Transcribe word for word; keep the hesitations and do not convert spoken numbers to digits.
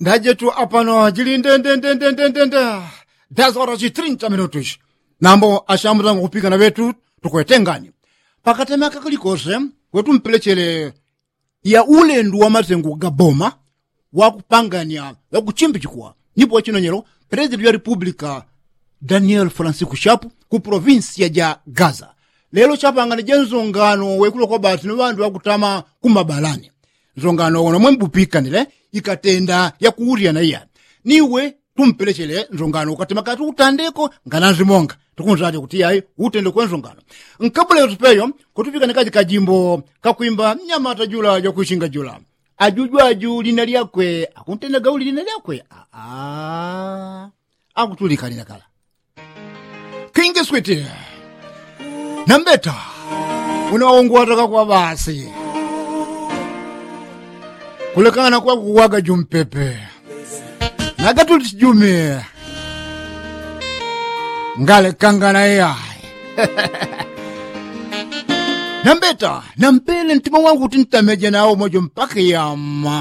Ndajetu apano jili ndendendendendendenda. Dazora jitrinta minutu ishi nambo ashambutangu kupikana ŵetu tukwetengani. Pakatema kakalikose kwetu mpelechele ya ulendu wa masengu gaboma wakupangania wakuchimbichikwa nipo wachinonyelo. President ya republika daniel francisco shapu ku provinsi ya ja gaza lelo chapangana ja nzongano wekulo kwa basi no ŵandu ŵakutama kumabalani. Nzongano wono mwembupikanile ikatenda yakuuryana iya niwe tumpelechele nzongano ukatima kati utandeko ngananzi monga tukunzate kuti yayi utende kwe nzongano. Nkabula yotupeyo kutupikane kaji kajimbo kakwimba mnyamata jula jakwishinga jula. Ajuju aju lina lyakwe akuntenda gauli lina lyakwe aa. Akutulika lina kala kingi switi nambeta unaungwataka kwa basi kulekana kwa kuwaga jumpepe. Nagatuli chijumi ngalekangana yayi nambeta nampele ntima wangu kuti ntameje nawo mojo mpaka yama.